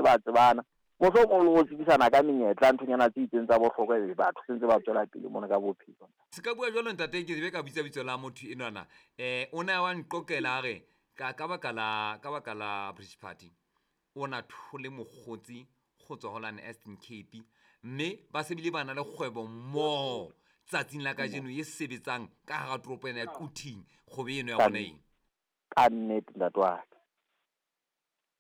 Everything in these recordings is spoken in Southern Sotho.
ba tsebana. Mohlomong le ho tsebisana ka menyetla, nthonyana tse itseng tsa bohlokwa, ebe batho se ntse ba tswela pele mona ka bophelo. Se ka bua jwalo ntate, ke be ka bitsa bitso la motho enwana. O ne a wa nqoqela a re ka baka la Bridge Party o na thole mokgotsi go tswa ho lane Eastern Cape, mme ba se bile ba na le kgwebo mmoho tsatsing la kajeno e sebetsang ka hara toropo ena ya Quthing, kgwebo eno ya bona eng. Ka nnete, ntate wa ka,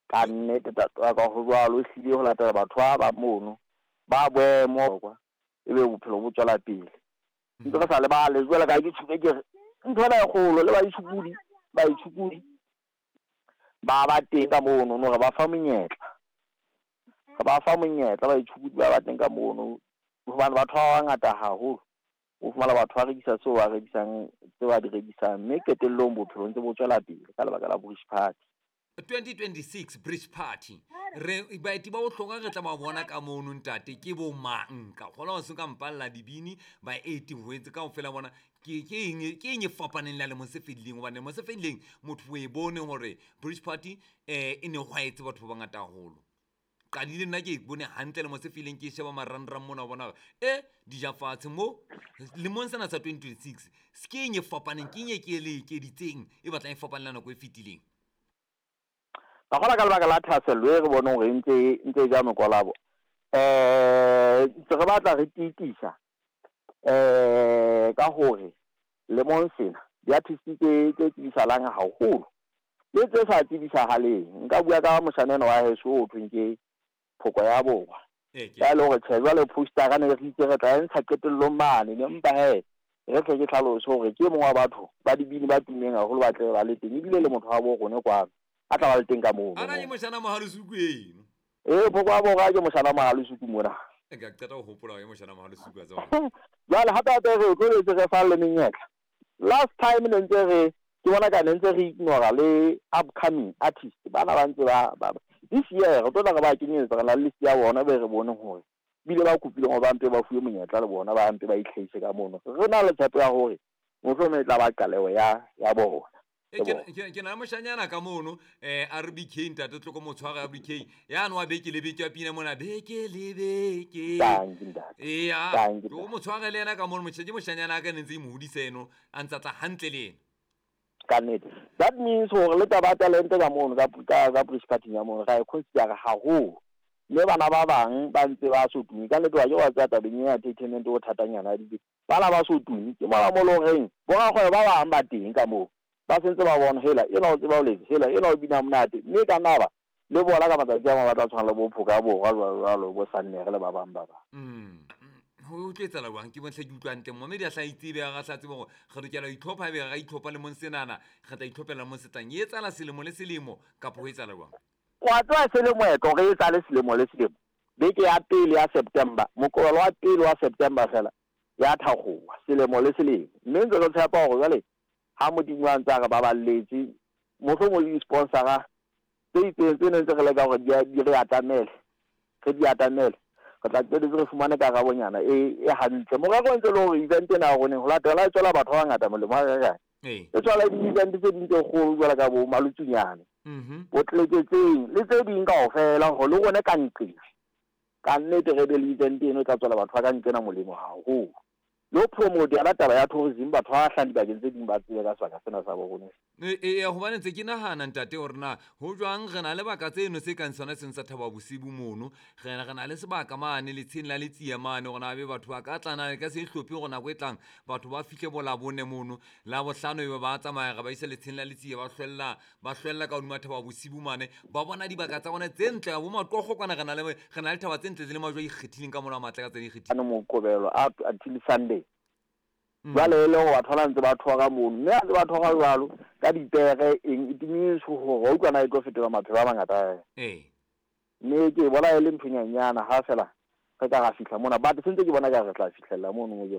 ka nnete, ntate wa ka, ho jwalo. Ehlile ho latela batho ba bang mono ba boemo kwa, ebe bophelo bo tswela pele ntse re sa lebale. Jwale ka ke tjhuke, ke re ntho ena e kgolo le baitshokodi ba teng ka mono no, re ba fa monyetla, re ba fa monyetla baitshokodi ba teng ka mono, hobane batho ba bangata haholo o fumana batho ba rekisa seo ba rekisang, tse ba di rekisang, mme qetellong bophelo ntse bo tswela pele ka lebaka la Bridge Party. 2026 Bridge Party, re baeti ba bohlokwa re tla ba bona ka mono, ntate, ke bo mang? Ka kgola ho se ka mpalla dibini, baeti ho etse kaofela bona. Ke eng e fapaneng le ya lemong se fetileng? Hobane lemong se fetileng motho o e bone hore Bridge Party e ne hwaetse batho ba bangata haholo. Qadile nna ke e bone hantle lemo se feileng, ke sheba marangrang mona, o bona hore e dija fatshe mo lemong sena sa 2026. Ke eng e fapaneng? Ke eng e ke le ekeditseng e batlang e fapane le nako e fetileng? Ka kgola ka lebaka la thahasello e re boneng hore e ntse e ja mekolabo, ntse re batla re tiitisa ka hore lemong sena di-artist tse tsibisahalang haholo le tse sa tsibisahaleng. Nka bua ka moshanyana wa heso o thweng ke Phoko ya Borwa, ya le hore tjhe, jwale postera ne re itse re tla e ntsha qetellong mane ne, empa he re tle ke tlhalose hore ke e mong wa batho ba dibini ba tummeng haholo ba tle ba le teng, ebile le motho wa bo rone kwano a tla ba le teng ka mono. Ana ke moshana Mohalesuku eno? Ee, Phoko ya Borwa ke moshana Mohalesuku mona. Ka qeta ho hopola ke moshana Mohalesuku a tseba. Jwale hape hape re tlo etse re fa le menyetla. Last time ne ntse re ke bona ka ne ntse re ignora le upcoming artist bana ba ntse ba. This year re tlo tla re ba kenyetsa, re na le list ya bona be re bone hore bile ba kopileng hore ba mpe ba fuwe monyetla le bona, ba mpe ba itlhahise ka mono. Re na le tshepo ya hore mohlomong e tla ba qaleho ya bona. Ke na le moshanyana ka mono, RBK, ntate, tloko motshwara RBK yane wa beke le beke ya pina mona beke le beke. Tanki, ntate. Eya. Tanki. O motshware le yena ka mono, ke moshanyana a ka ne ntse e mo hodisa eno, a ntsa tla hantle le ena. Ka nnete, that means hore le taba ya talente ka mono ka Bridge Party ya mono ra e considera haholo, mme bana ba bang ba ntse ba so tumi. Ka nnete wa ke wa tseba tabeng ya entertainment o thatanyana ya dibe, bana ba so tumi ke mona mo le horeng borakgwebo ba bang ba teng ka moo ba sentse ba bona hela ena o tseba ho letsa, hela ena o bina monate, mme ka nna ba le bona ka matsatsi a mang ba tla tshwana le bo Phoka Borwa jwalo jwalo, bo Sannere le ba bang ba bang. Ho tlo etsahala jwang? Ke bontlhe ke utlwa ntle momedi a hla itsebe, a hla tsebe hore re lokela ho itlhopha, ebe ra itlhopha lemong senana, re tla itlhophela lemong se tlang. E etsahala selemo le selemo kapa ho etsahala jwang? Wa tseba se le moetlo re etsale selemo le selemo, beke ya pele ya September, Moqebelo wa pele wa September fela ya thakgowa selemo le selemo, mme ntse re tshepa hore jwale ha Modimo a ntse a re baballetse, mohlomong le di-sponsora tse itseng tse neng tse re leka hore di re atamele, re di atamele, re tla qetetse re fumane karabonyana e hantle. Morero ntse le hore event ena ya roneng ho latela e tswela batho ba bangata molemo ha kae e tswala di-event tse ding tse kgolo jwalo ka bo Malutsunyane, bo Tleketseng le tse ding kaofela, hore le rone ka nqena ka nnete re be le event eno e tla tswela batho ba ka nqena molemo haholo, le ho promote yona taba ya tourism, batho ba hlahang dibakeng tse ding ba tsebe ka sebaka sena sa bo rona. Ee, hobane ntse ke nahana, ntate, hore na ho jwang re na le baka tseno se kang sona seng sa Thaba Bosibu mono, re na le sebaka mane letsheng la Letsia mane, hore na be batho ba ka tlana ka se hlophe hore nako e tlang batho ba fihle bo Labone mono, la bohlano ebe ba tsamaya, re ba isa letsheng la Letsia, ba hlwella ka hodima Thaba Bosibu mane, ba bona dibaka tsa bona tse ntle bo Maqokgo kwana. Re na le thaba tse ntle tse le majwe a ikgethileng ka mona a matle ka tse di ikgethileng. Ano Moqebelo up until Sunday. Jwale e le hore batho ba ntse ba thoka mono, mme ha ntse ba thoka jwalo ka dipere eng, it means hore wa utlwa na e tlo fetola maphelo a mangata. Mme ke bona e le nthonyanyana ha fela re ka ra fihla mona, but sentse ke bona ka re tla fihlella mono mo ke.